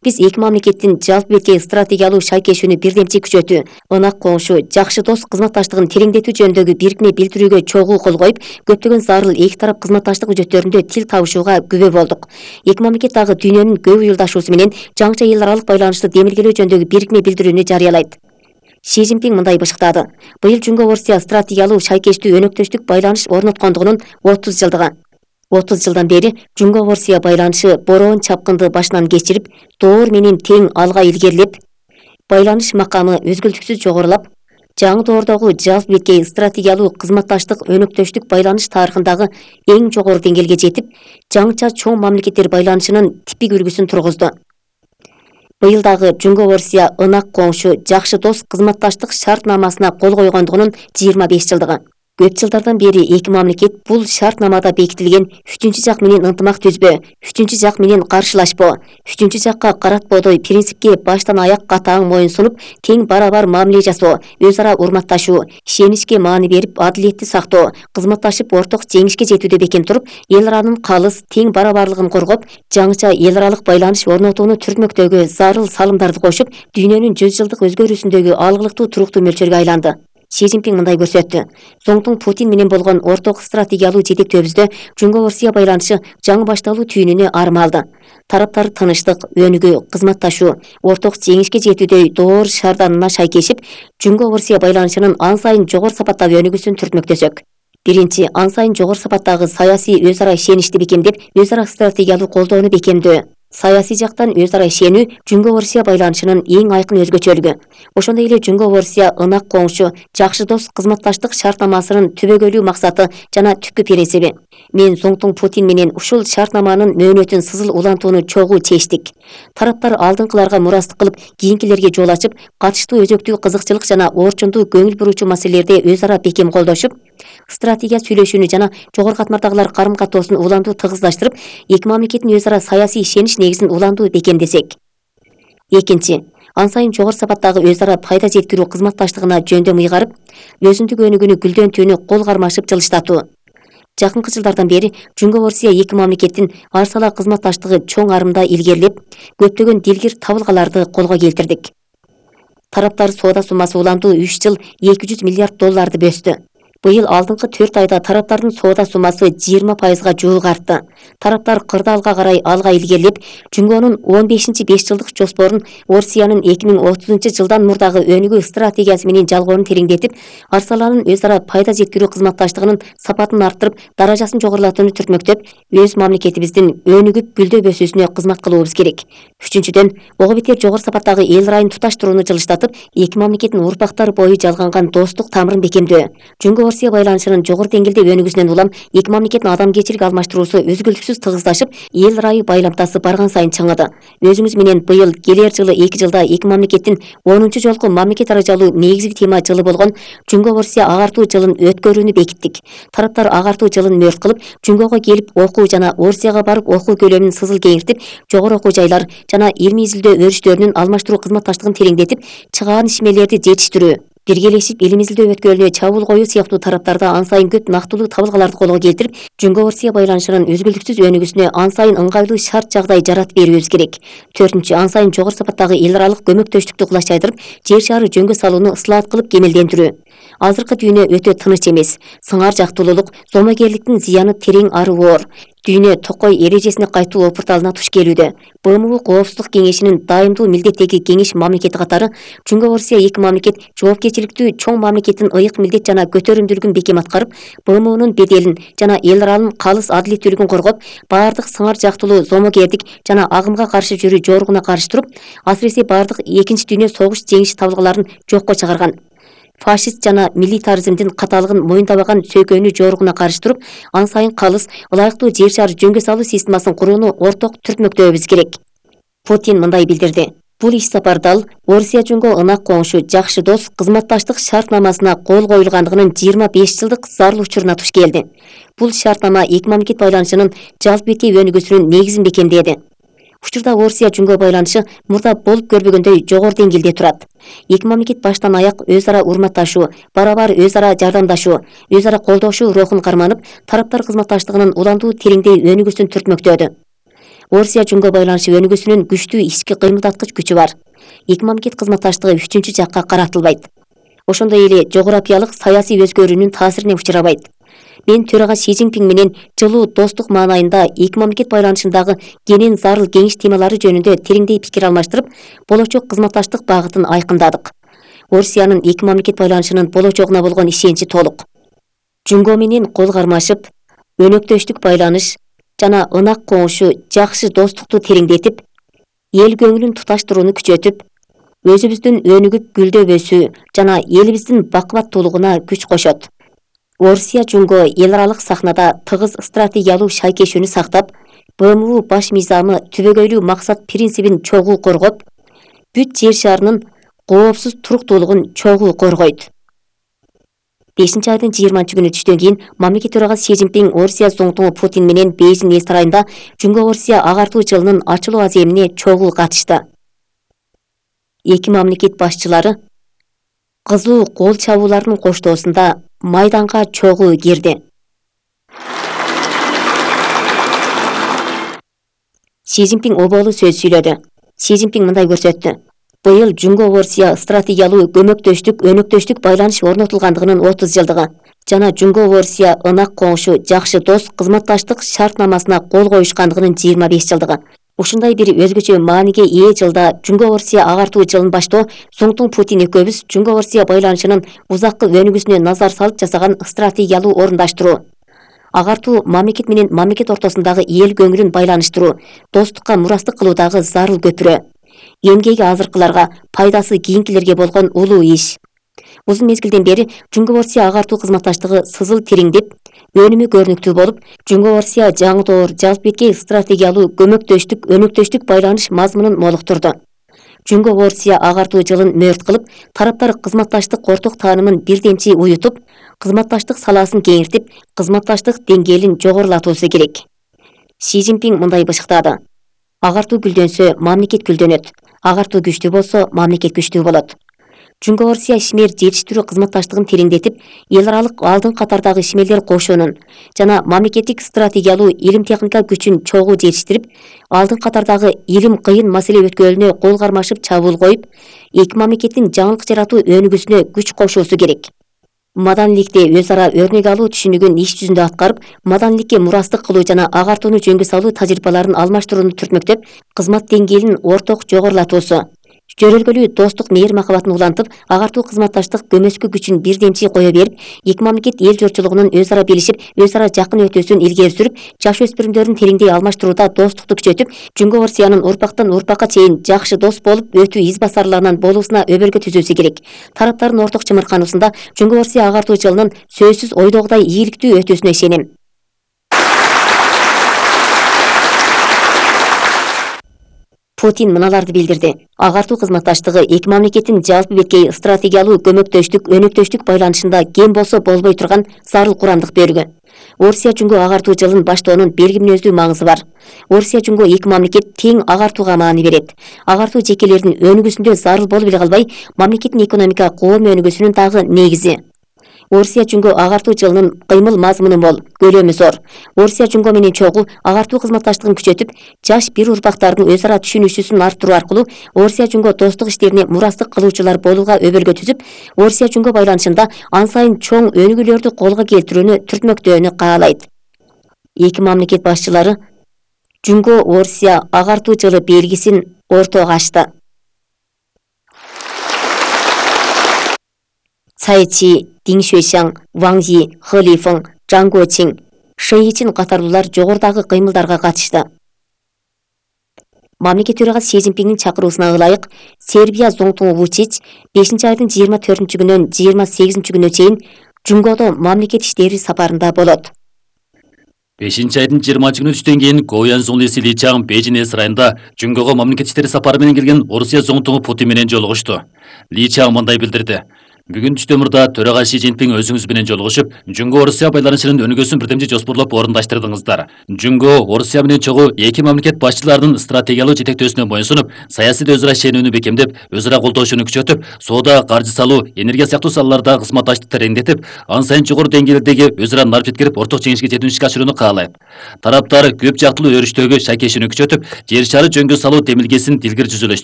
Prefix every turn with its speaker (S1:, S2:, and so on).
S1: Биз эки мамлекеттин жалпы беткей стратегиялуу шайкешүүнү бирдемчи күчөтүү, ынак коңшу, жакшы дос кызматташтыгын тереңдетүү жөнүндөгү бирикме билдирүүгө чогуу кол коюп, көптөгөн зарыл эки тарап кызматташтык үчөттөрүндө тил табышууга күбө болдук. Эки мамлекет дагы дүйнөнүн көп уюлдашуусу менен жаңыча эл аралык байланышты демилгелөө жөнүндөгү бирикме билдирүүнү жарыялайт. Си Цзиньпин мындай бышыктады. Быйыл Жумго-Орусия стратегиялуу шайкештүү өнөктөштүк байланыш орноткондугунун 30 жылдыгы. 30 жылдан бери Жумго-Орусия байланышы бороон чапкынды башынан кечирип, доор менен тең алга илгерилеп, байланыш макамы өзгөлтүксүз жогорулап, жаңы доордогу жалпы беткей стратегиялуу кызматташтык өнөктөштүк байланыш тарыхындагы эң жогору деңгээлге жетип, жаңыча чоң мамлекеттер байланышынын типик үлгүсүн тургузду. Быйыл дагы Жумго-Орусия ынак коңшу, жакшы дос кызматташтык шартнамасына кол койгондугунун 25 жылдыгы. Көп жылдардан бери эки мамлекет бул шартнамада бекитилген үчүнчү жак менен ынтымак түзбө, үчүнчү жак менен каршылашпоо, үчүнчү жакка каратпоодой принципке баштан аяк катаң моюн сунуп, тең барабар мамиле жасоо, өз ара урматташуу, ишеничке маани берип, адилетти сактоо, кызматташып орток жеңишке жетүүдө бекем туруп, эл аранын калыс, тең барабарлыгын коргоп, жаңыча эл аралык байланыш орнотууну түртмөктөгү зарыл салымдарды кошуп, дүйнөнүн 100 жылдык өзгөрүүсүндөгү алгылыктуу туруктуу мөлчөргө айланды. Си Цзиньпин мындай көрсөттү. Соңтуң Путин менен болгон орток стратегиялуу жетектөөбүздө Жумго-Орусия байланышы жаңы башталуу түйүнүнө армалды. Тараптар тынычтык, өнүгүү, кызматташуу, орток жеңишке жетүүдөй доор шарданына шайкешип, Жумго-Орусия байланышынын ан сайын жогору сапаттагы өнүгүүсүн түртмөктөсөк. Биринчи, ан сайын жогору сапаттагы саясий өз ара ишеничти бекемдеп, өз ара стратегиялуу колдоону бекемдөө. Саясий жактан өз ара ишенүү Жумго-Орусия байланышынын эң айкын өзгөчөлүгү. Ошондой эле Жумго-Орусия ынак коңшу, жакшы дос кызматташтык шартнамасынын түбөгөлүү максаты жана түпкү принциби. Мен соңтуң Путин менен ушул шартнаманын мөөнөтүн сызыл улантууну чогуу чечтик. Тараптар алдыңкыларга мурастык кылып, кийинкилерге жол ачып, катыштуу өзөктүү кызыкчылык жана орчундуу көңүл буруучу маселелерде өз ара бекем колдошуп, стратегия сүйлөшүүнү жана жогору катмардагылар карым катоосун улантуу тыгыздаштырып, эки мамлекеттин өз ара саясий ишенич негизин улантуу бекемдесек. Экинчи, ан сайын жогору сапаттагы өз ара пайда жеткирүү кызматташтыгына жөндөм ыйгарып, өзүндүк өнүгүүнү гүлдөнтүүнү кол кармашып жылыштатуу. Жакынкы жылдардан бери Жумго-Орусия эки мамлекеттин ар сала кызматташтыгы чоң арымда илгерилеп, көптөгөн дилгир табылгаларды колго келтирдик. Тараптар соода суммасы улантуу 3 жыл $200 миллиард бөстү. Быйыл алдыңкы 4 айда тараптардын соода суммасы 20%га жуук артты. Тараптар кырдаалга карай алга илгерилеп, Жумгонун 15-5 жылдык жоспорун Орусиянын 2030 жылдан мурдагы өнүгүү стратегиясы менен жалгоонун тереңдетип, ар саланын өз ара пайда жеткирүү кызматташтыгынын сапатын арттырып, даражасын жогорулатууну түртмөктөп, өз мамлекетибиздин өнүгүп гүлдөө өсүүсүнө кызмат кылуубуз керек. Үчүнчүдөн, ого бетер жогору сапаттагы эл райын туташтырууну жылыштатып, эки мамлекеттин урпактар бою жалганган достук тамырын бекемдөө. Жумго-Орусия байланышынын жогору деңгээлде өнүгүүсүнөн улам эки мамлекеттин адамгерчилик алмаштыруусу өзгөлтүксүз тыгыздашып, эл райы байламтасы барган сайын чыңыды. Өзүңүз менен быйыл келер жылы 2 жылда эки мамлекеттин 10 жолку мамлекет аралык негизги тема жылы болгон Жумго-Орусия агартуу жылын өткөрүүнү бекиттик. Тараптар агартуу жылын мөрт кылып, Жумгого келип окуу жана Орусияга барып окуу көлөмүн сызыл кеңиртип, жогору окуу жайлар жана илмий изилдөө өрүштөрүнүн алмаштыруу кызматташтыгын тереңдетип, чыгаан ишмерлерди жетиштирүү, биргелешип илим изилдөө өткөлүнө чабуул коюу сыяктуу тараптарда ан сайын көп нактылуу табылгаларды колго келтирип, Жумго-Орусия байланышынын өзгөлтүксүз өнүгүүсүнө ан сайын ыңгайлуу шарт жагдай жаратып берүүбүз керек. Төртүнчү, ан сайын жогору сапаттагы эл аралык көмөктөштүктү кулачайдырып, жер шаары жөнгө салууну ыслаат кылып кемелдендирүү. Азыркы дүйнө өтө тыныч эмес. Сыңар жактуулук, зомогерликтин зыяны терең ары оор. Дүйнө токой эрежесине кайтуу опурталына туш келүүдө. БМУ Коопсуздук кеңешинин дайымдуу милдеттеги кеңеш мамлекети катары Жумго-Орусия эки мамлекет жоопкерчиликтүү чоң мамлекеттин ыйык милдет жана көтөрүмдүүлүгүн бекем аткарып, БМУнун беделин жана эл аралык калыс адилеттүүлүгүн коргоп, баардык сыңар жактуулуу зомогердик жана агымга каршы жүрүү жоругуна каршы туруп, асыресе баардык Экинчи дүйнө согуш жеңиши табылгаларын жокко чыгарган. Фашист жана милитаризмдин каталыгын моюндабаган сөйкөнүү жоругуна каршы туруп, ан сайын калыс, ылайыктуу жер шаар жөнгө салуу системасын курууну орток түртмөктөөбүз керек. Путин мындай билдирди. Бул иш сапардал Орусия Жумго ынак коңшу, жакшы дос кызматташтык шартнамасына кол коюлгандыгынын 25 жылдык зарыл учуруна туш келди. Бул шартнама эки мамлекет байланышынын жалпы беткей өнүгүүсүнүн негизин бекемдеди. Учурда Орусия Жумго байланышы мурда болуп көрбөгөндөй жогору деңгээлде турат. Эки мамлекет баштан аяк өз ара урматташуу, барабар өз ара жардамдашуу, өз ара колдошуу рухун карманып, тараптар кызматташтыгынын улантуу тереңдей өнүгүүсүн түртмөктөдү. Орусия Жунго байланышы өнүгүүсүнүн күчтүү ички кыймылдаткыч күчү бар. Эки мамлекет кызматташтыгы үчүнчү жакка каратылбайт. Ошондой эле жогорапиялык саясий өзгөрүүнүн таасирине учурабайт. Мен төрага Си Цзиньпин менен жылуу достук маанайында эки мамлекет байланышындагы кенен зарыл кеңеш темалары жөнүндө тереңдей пикир алмаштырып, болочок кызматташтык багытын айкындадык. Орусиянын эки мамлекет байланышынын болочогуна болгон ишеничи толук. Жунго менен кол кармашып, өнөктөштүк байланыш жана ынак коңушу жакшы достукту тереңдетип, эл көңүлүн туташтырууну күчөтүп, өзүбүздүн өнүгүп гүлдөбөсү жана элибиздин бакубаттуулугуна күч кошот. Орусия Жунго эл аралык сахнада тыгыз стратегиялуу шайкешүүнү сактап, БМУ баш мыйзамы түбөгөйлүү максат принцибин чогуу коргоп, бүт жер шарынын коопсуз туруктуулугун чогуу коргойт. 5-айдын 20-күнү түштөн кийин мамлекет төрагасы Си Цзиньпин Орусия зоңтуңу Путин менен Бейжиң эс сарайында Жунго-Орусия агартуу жылынын ачылуу аземине чогуу катышты. Эки мамлекет башчылары кызуу кол чабуулардын коштоосунда майданга чогуу кирди. Си Цзиньпин оболу сөз сүйлөдү. Си Цзиньпин мындай көрсөттү. Быйыл Жунго-Орусия стратегиялуу өнөктөштүк байланыш орнотулгандыгынын 30 жылдыгы жана Жунго-Орусия ынак коңушу жакшы дос кызматташтык шартнамасына кол коюшкандыгынын 25 жылдыгы. Ушундай бир өзгөчө мааниге ээ жылда Жунго-Орусия агартуу жылын баштоо Зоңтуң Путин экөөбүз Жунго-Орусия байланышынын узаккы өнүгүүсүнө назар салып жасаган стратегиялуу орундаштыруу. Агартуу мамлекет менен мамлекет ортосундагы эл көңүлүн байланыштыруу, достукка мурастык кылуудагы зарыл көпүрө. Эмгеги азыркыларга, пайдасы кийинкилерге болгон улуу иш. Узун мезгилден бери Жунго-Орусия агартуу кызматташтыгы сызыл тереңдеп, өнүмү көрүнүктүү болуп, Жунго-Орусия жаңы жалп эткей стратегиялуу өнөктөштүк байланыш мазмунун молуктурду. Жунго-Орусия агартуу жылын мөрт кылып, тараптар кызматташтык орток таанымын бирдемчи уютуп, кызматташтык салаасын кеңиртип, кызматташтык деңгээлин жогорулатуусу керек. Си Цзиньпин мындай бышыктады. Агартуу гүлдөнсө, мамлекет гүлдөнөт. Агартуу күчтүү болсо, мамлекет күчтүү болот. Жунго-Орусия ишмер жетиштирүү кызматташтыгын тереңдетип, эл аралык алдын катардагы ишмерлер кошуунун жана мамлекеттик стратегиялуу илим техника күчүн чогуу жетиштирип, алдын катардагы илим кыйын маселе өткөлүнө кол кармашып чабуул коюп, эки мамлекеттин жаңылык жаратуу өнүгүүсүнө күч кошуусу керек. Маданиликте өз ара өрнөк алуу түшүнүгүн иш жүзүндө аткарып, маданиликке мурастык кылуу жана агартууну жөнгө салуу тажрыйбаларын алмаштырууну түртмөктөп, кызмат деңгээлин орток жогорулатуусу. Жөрөлгөлүү достук мээри махабатын улантып, агартуу кызматташтык көмөскө күчүн бирдемчи кое берип, эки мамлекет эл журтчулугунун өз ара билишип, өз ара жакын өтүүсүн илгери сүрүп, жаш өспүрүмдөрдүн тереңдей алмаштырууда достукту күчөтүп, Жунго-Орусиянын урпактан урпакка чейин жакшы дос болуп өтүү из басарларынан болуусуна өбөлгө түзүүсү керек. Тараптардын орток чымыркануусунда Жунго-Орусия агартуу жылынын сөзсүз ойдогудай ийгиликтүү өтүүсүнө ишенем. Путин мыналарды билдирди. Агартуу кызматташтыгы эки мамлекеттин жалпы беткей стратегиялуу өнөктөштүк байланышында кем болсо болбой турган зарыл курамдык бөлүгү. Орусия Жунго агартуу жылын баштоонун белги мүнөздүү маңызы бар. Орусия Жунго эки мамлекет тең агартууга маани берет. Агартуу жекелердин өнүгүүсүндө зарыл болуп эле калбай, мамлекеттин экономика коом өнүгүүсүнүн дагы негизи. Орусия Жунго агартуу жылынын кыймыл мазмуну мол, көлөмү зор. Орусия Жунго менен чогуу агартуу кызматташтыгын күчөтүп, жаш бир урпактардын өз ара түшүнүшүүсүн арттыруу аркылуу Орусия Жунго достук иштерине мурастык кылуучулар болууга өбөлгө түзүп, Орусия Жунго байланышында ан сайын чоң өнүгүүлөрдү колго келтирүүнү түртмөктөөнү каалайт. Эки мамлекет башчылары Жунго-Орусия агартуу жылы белгисин ортого ачты. Цай Чи, Дин Шуйшаң, Ваң Зи, Хэ Лифeng, Жан Гочин, Шэй Ичин катарлуулар жогорудагы кыймылдарга катышты. Мамлекет төрагасы Си Цзиньпиндин чакыруусуна ылайык, Сербия зоңтуңу Вучич 5-айдын 24-күнүнөн 28-күнүнө чейин Жунгодо мамлекет иштери сапарында болот.
S2: 5-айдын 20-күнү түштөн кийин Гоян Зонлиси Ли Чаң Бейжиң эс сарайында Жунгого мамлекет иштери сапары менен келген Орусия зоңтуңу Путин менен жолугушту. Ли Чаң мындай билдирди. Бүгүн түштөмүрдө төрага Си Цзиньпин өзүңүз менен жолугушуп, Жунго Орусия байланышынын өнүгүүсүн бирдемчи жоспарлап орундаштырдыңыздар. Жунго Орусия менен чогуу эки мамлекет башчыларынын стратегиялык жетектөөсүнө моюнсунуп, саясий өзара ишенүүнү бекемдеп, өзара колдошууну күчөтүп, соода, каржы салуу, энергия сыяктуу салаларда кызматташтыкты тереңдетип, ан сайын жогору деңгээлдеги өзара нарп жеткирип, орток жеңишке жетүүнү ишке ашырууну каалайт. Тараптар көп жактылуу өрүштөгү шайкешүүнү күчөтүп, жер шары жөнгө салуу демилгесин дилгир жүзөлөштүрүп,